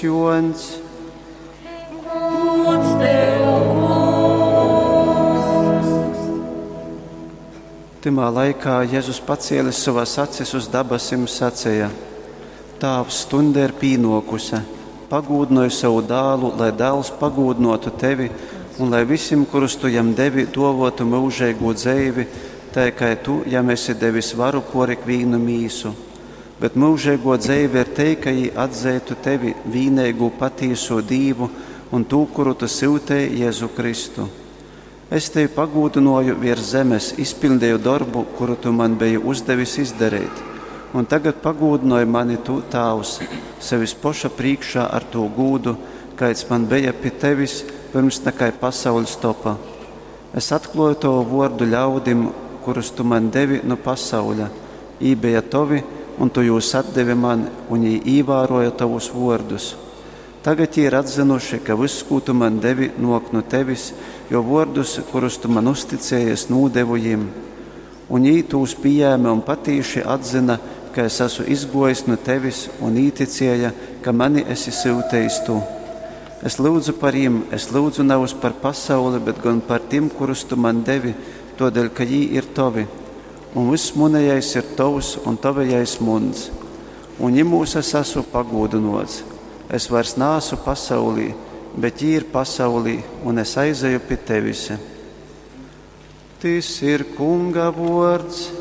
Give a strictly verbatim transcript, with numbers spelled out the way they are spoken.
Juoņs. Gods tev, Kungs! Tymā laikā Jēzus pacēlis savas acis uz dabasim saceja: Tāvs, stunde ir pīnōkuse, pagūdynoj savu dālu, lai dāls pagūdynōtu tevi, un lai visim, kurus tu jam devi, dōvōtu myužeigū dzeivi, tai kai tu jam esi devis varu pōr ikvīnu mīsu. Bet myužeigō dzeive ir tei, ka jī atzeitu tevi, vīneigū patīsū Dīvu, un tū, kuru tu syutēji, Jēzu Kristu. Es tevi pagūdynōju viers zemes, izpiļdeju dorbu, kuru tu man beji uzdevis izdareit. Un tagad pagūdynoj mani tu, Tāvs, sevis poša prīškā ar tū gūdu, kaids man beja pi tevis, pyrms nakai pasauļs topa. Es atklōju tovu vōrdu ļaudim, kurus tu man devi nu pasauļa. Jī beja tovi, un tu jūs atdevi man, un jī īvārōja tovus vōrdus. Tagad jī ir atzynuši, ka vyss, kū tu man devi, nōk nu tevis, jo vōrdus, kurus tu man uzticēji, es nūdevu jim. Un jī tūs pījēme un patīši atzyna, ka es esmu izgōjis nu tevis, un īticēja, ka mani esi syutejis tu. Es lyudzu par jim, es lyudzu nevis par pasauli, bet gan par tim, kurus tu man devi, tōdēļ, ka jī ir tovi. Un vyss munejais ir tovs, un tavejais muns. Un jimūs es esmu pagūdynōts. Es vairs naasu pasaulī, bet jī ir pasaulī, un es aizeju pi tevis. Tys ir Kunga vōrds.